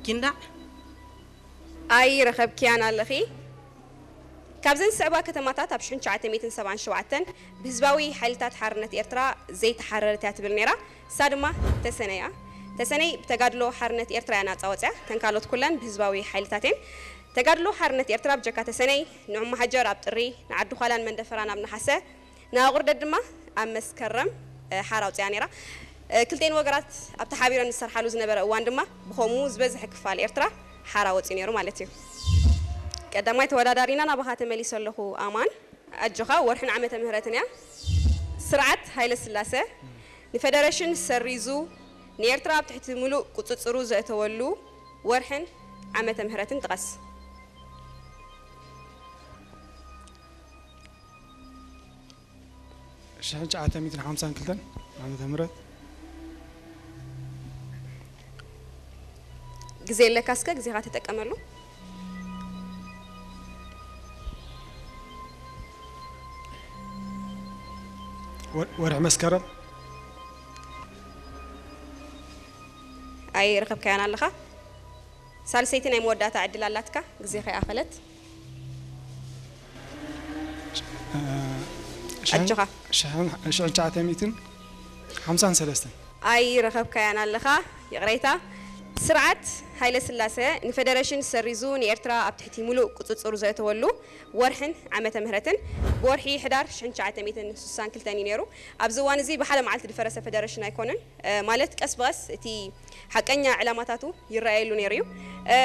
ኪንዳዕ ኣይረኸብክያን ኣለኺ። ካብዘን ዝስዕባ ከተማታት ኣብ ሽሕን ትሽዓተ ሚእትን ሰብዓን ሸውዓተን ብህዝባዊ ሓይልታት ሓርነት ኤርትራ ዘይተሓረረት እያ ትብል ነይራ። እሳ ድማ ተሰነይ እያ። ተሰነይ ብተጋድሎ ሓርነት ኤርትራ እያ ናጻ ወጽያ። ተን ካልኦት ኩለን ብህዝባዊ ሓይልታት እየን። ተጋድሎ ሓርነት ኤርትራ ብጀካ ተሰነይ፣ ንዑ መሃጀር ኣብ ጥሪ፣ ንዓዲ ዃላን መንደፈራን ኣብ ነሓሰ፣ ንኣቑርደት ድማ ኣብ መስከረም፣ እ፣ ሓራ ኣውጺኣ ነይራ። እ፣ ክልቴን ወገራት ኣብቲ ሓቢረን ዝሰርሓሉ ዝነበረ እዋን ድማ ብኸምኡ ዝበዝሐ ክፋል ኤርትራ ሓራ ወጺኡ ነይሩ ማለት እዩ። ቀዳማይ ተወዳዳሪና ናባኻ ተመሊሰ ኣለኹ ኣማን። ኣጆኻ፣ ወርሕን ዓመተ ምህረትን እያ። ስርዓት ሃይለ ስላሰ ንፈደረሽን ሰሪዙ ንኤርትራ ኣብ ትሕቲ ምሉእ ቁጽጽሩ ዘእተወሉ ወርሕን ዓመተ ምህረትን ጥቀስ። ሽሕን ትሽዓተ ሚእትን ሓምሳን ክልተን ዓመተ ምህረት። ግዜ ኣለካ፣ እስከ ግዜኻ ተጠቀመሉ። ወ- ወርሒ መስከረም። ኣይረኸብካያን ኣለኻ። ሳልሰይቲ ናይ መወዳእታ ዕድል ኣላትካ፣ ግዜኻ ይኣኸለት። እ፣ ሽሕን- ኣጆኻ። ሽሕን- ሽሕን ትሽዓተ ሚእትን ሓምሳን ሰለስተን። ኣይረኸብካያን ኣለኻ፣ ይቕሬታ። ስርዓት ሃይለ ስላሰ ንፈደረሽን ሰሪዙ ንኤርትራ ኣብ ትሕቲ ሙሉእ ቁጽጽሩ ዘእተወሉ ወርሕን ዓመተ ምህረትን ብወርሒ ሕዳር ሽሕን ትሽዓተ ሚእትን ስሳን ክልተን እዩ ነይሩ። ኣብዚ እዋን እዚ ብሓደ መዓልቲ ዝፈረሰ ፈደረሽን ኣይኮነን። እ፣ ማለት ቀስ ብቐስ እቲ ሓቀኛ ዕላማታቱ ይረኣየሉ ነይሩ እዩ። እ፣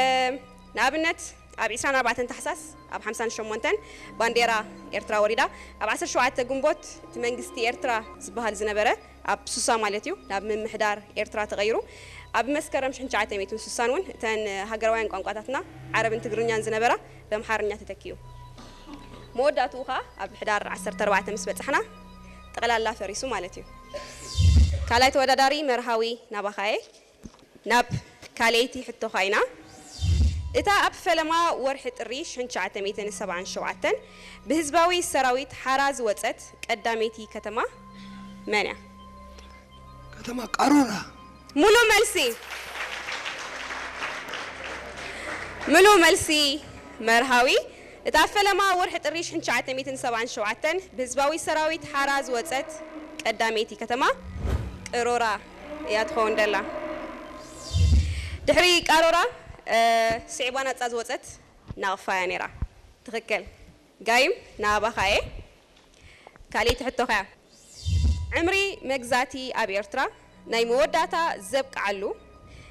ንኣብነት ኣብ ዕስራን ኣርባዕተን ታሕሳስ ኣብ ሓምሳን ሸሞንተን ባንዴራ ኤርትራ ወሪዳ፣ ኣብ ዓሰርተ ሸውዓተ ግንቦት እቲ መንግስቲ ኤርትራ ዝበሃል ዝነበረ ኣብ ሱሳ ማለት እዩ ናብ ምምሕዳር ኤርትራ ተቐይሩ። ኣብ መስከረም ሽሕን ትሽዓተ ሚእትን ስሳን እውን እተን ሃገራውያን ቋንቋታትና ዓረብን ትግርኛን ዝነበራ በምሓርኛ ተተኪኡ። መወዳእትኡ ኸኣ ኣብ ሕዳር ዓሰርተ ኣርባዕተ ምስ በጻሕና ጠቕላላ ፈሪሱ ማለት እዩ። ካልኣይ ተወዳዳሪ መርሃዊ ናባኻየ። ናብ ካልኣይቲ ሕቶኻ ኢና። እታ ኣብ ፈለማ ወርሒ ጥሪ ሽሕን ትሽዓተ ሚእትን ሰብዓን ሸውዓተን ብህዝባዊ ሰራዊት ሓራ ዝወጸት ቀዳመይቲ ከተማ መን እያ? ከተማ ቃሮራ። ሙሉ መልሲ። ሙሉ መልሲ መርሃዊ። እታ ኣብ ፈለማ ወርሒ ጥሪ ሽሕን ትሽዓተ ሚእትን ሰብዓን ሸውዓተን ብህዝባዊ ሰራዊት ሓራ ዝወጸት ቀዳመይቲ ከተማ ቅሮራ እያ ትኸውን ደላ። ድሕሪ ቃሮራ፣ እ፣ ስዒባ ናጻ ዝወጸት ናቕፋ እያ ነይራ። ትኽክል። ጋይም ናባኻ እየ። ካልኣይቲ ሕቶኻ እያ። ዕምሪ መግዛእቲ ኣብ ኤርትራ ናይ መወዳእታ ዘብቅዓሉ